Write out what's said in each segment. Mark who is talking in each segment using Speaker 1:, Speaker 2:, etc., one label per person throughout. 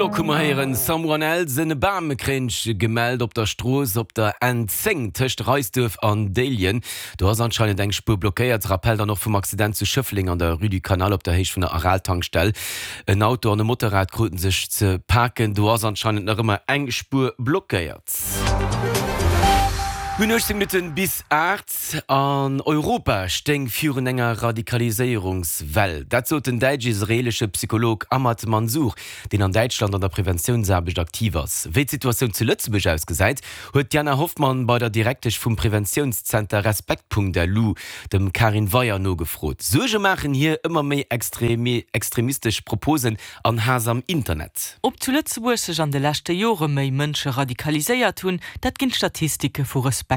Speaker 1: Glock hu mer héieren, Someone Else, en Bam kréint gemellt op der Strooss op der N10 tëscht Reisduerf an Déiljen. Do ass anscheinend eng Spuer blockéiert. Rappell dann och vum Accident zu Schëffleng an der Rue du Canal op der Héicht vun der Aral-Tankstell. En Auto an e Motorrad kruten sech ze paken. Do ass anscheinend nach ëmmer eng Spuer blockéiert. Mir hunn 18 Minutten bis 8. An Europa stéing virun enger Radikaliséierungswell. Dat sot den däitsch-israeelesche Psycholog Ahmad Mansour, deen an Däitschland an der Preventiounsaarbecht aktiv ass. Wéi d'Situatioun zu Lëtzebuerg ausgesäit, huet d'Diana Hoffmann bei der Direktesch vum Preventiounszenter Respekt.lu, dem Karin Weyer, nogefrot. Suerge maachen hir ëmmer méi extremistesch Proposen an Haass am Internet.
Speaker 2: Ob zu Lëtzebuerg sech an de leschte Jore méi Mënsche radikaliséiert hunn, dat ginn d'Statistike vu Respekt.lu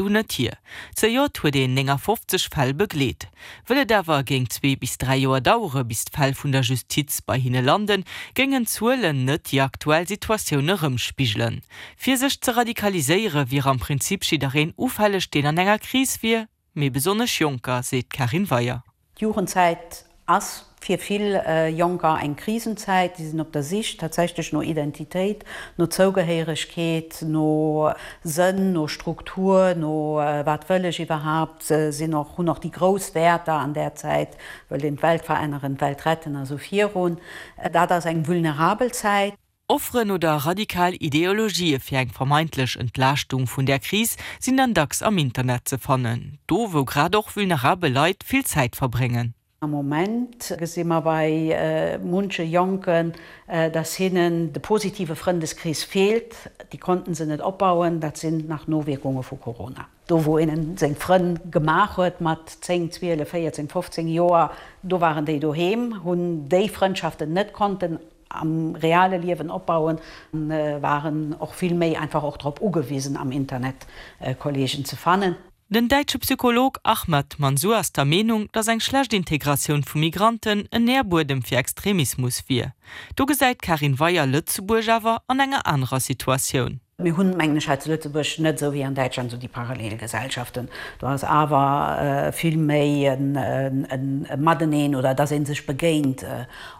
Speaker 2: net hier. Zejoert huet een 59 Fäll begleet. Wëll et awer géing zwee bis dräi Joer dauere bis d'Fäll vun der Justiz bei hinne landen, géingen d'Zuelen net déi aktuell Situatioun erëmspigelen. Fir sech ze radikaliséiere wier am Prinzip jiddereen ufälleg, deen an enger Kris wier, mee besonnesch Jonker, seet d'Karin Weyer.
Speaker 3: D'Jugendzäit ass fir vill Jonker eng Krisenzäit. Si sinn op der Sich tatsächlech no Identitéit, no Zougehéieregkeet, no Sënn, no Struktur, no wat wëll ech iwwerhaapt, sinn och, hunn och déi grouss Wäerter an där Zäit, wëllt een d'Welt veränneren, d'Welt retten a sou virun. Dat ass eng vulnerabel Zäit.
Speaker 2: Offeren oder radikal Ideologië fir eng vermeintlech Entlaaschtung vun där Kris sinn dann dacks am Internet ze fannen, do wou grad och vulnerabel Leit vill Zäit verbréngen.
Speaker 3: Am Moment gesi mer bei munche Jonken, dass hinnen de positive Frëndeskrees feelt. Déi konnten se net opbauen. Dat sinn nach Nowierkunge vu Corona. Do wou een seng Frënn gemaach huet mat 10, 12, 14, 15 Joer, do waren déi doheem, hunn déi Frëndschaften net konnten am reale Liewen opbauen, waren och vill méi einfach och drop ugewisen am Internet Kollegen ze fannen.
Speaker 2: Den däitsche Psycholog Ahmad Mansour ass der Meenung, datt eng schlecht Integratioun vu Migranten en Nährbuedem fir Extremismus wier. Do gesäit d'Karin Weyer Lëtzebuerg awer an enger anerer Situatioun.
Speaker 3: Mir hunn, mengen ech, hei zu Lëtzebuerg net esou wéi an Däitschland esou déi Parallelgesellschaften. Do ass awer vill méi e Mateneen oder dass ee sech begéint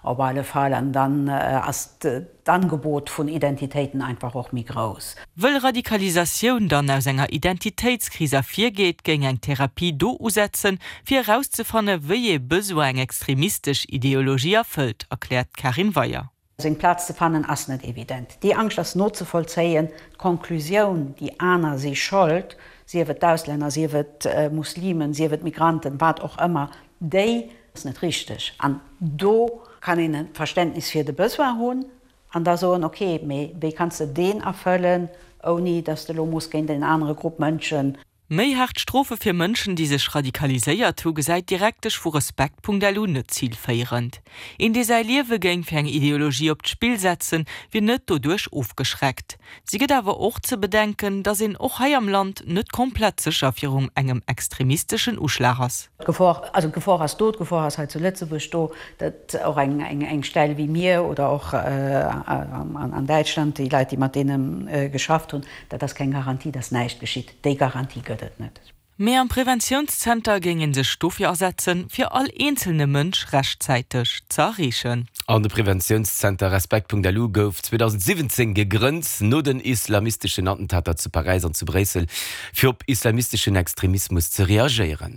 Speaker 3: op alle Fall. An dann ass d'Angebot vun Identitéiten einfach och méi grouss.
Speaker 2: Wëll Radikalisatioun dann aus enger Identitéitskris ervirgeet, géing eng Therapie do usetzen, fir erauszefanne wéi ee Besoin eng extremistesch Ideologie erfëllt, erkläert d'Karin Weyer.
Speaker 3: Seng Plaz ze fannen ass net evident. Déi Angscht ass nozevollzéien. D'Conclusioun, déi aner si Schold, sief et d'Auslänner, sief et Muslimen, sief et Migranten, wat och ëmmer, déi ass net richteg. An do kann een e Verständnis fir de Besoin hunn an da soen, ok, mee wéi kanns de deen erfëllen, ouni datt s de elo muss géint en anere Grupp Mënschen
Speaker 2: Méi haart Strofe fir Mënschen, déi sech radikaliséiert hu, gesäit d'Direktesch vu Respekt.lu net zilféierend. Een, dee säi Liewe géing fir eng Ideologie op d'Spill setzen, wier net doduerch ofgeschreckt. Si gëtt awer och ze bedenken, datt een och hei am Land net komplett sécher virum engem extremisteschen Uschlag ass.
Speaker 3: D'Gefor, also d'Gefor ass do, d'Gefor ass hei zu Lëtzebuerg do, datt och eng Stell wéi mir oder och an Däitschland déi Leit, déi mat deene geschafft hunn, dat ass keng Garantie, datt näischt geschitt. Déi Garantie gëtt et net.
Speaker 2: Mee am Preventiounszenter géing ee sech dofir asetzen, fir all eenzelne Mënsch rechtzäiteg ze erreechen.
Speaker 1: An de Preventiounszenter Respekt.lu gouf 2017 gegrënnt, no den islamisteschen Attentater zu Paräis an zu Bréissel, fir op islamisteschen Extremismus ze reagéieren.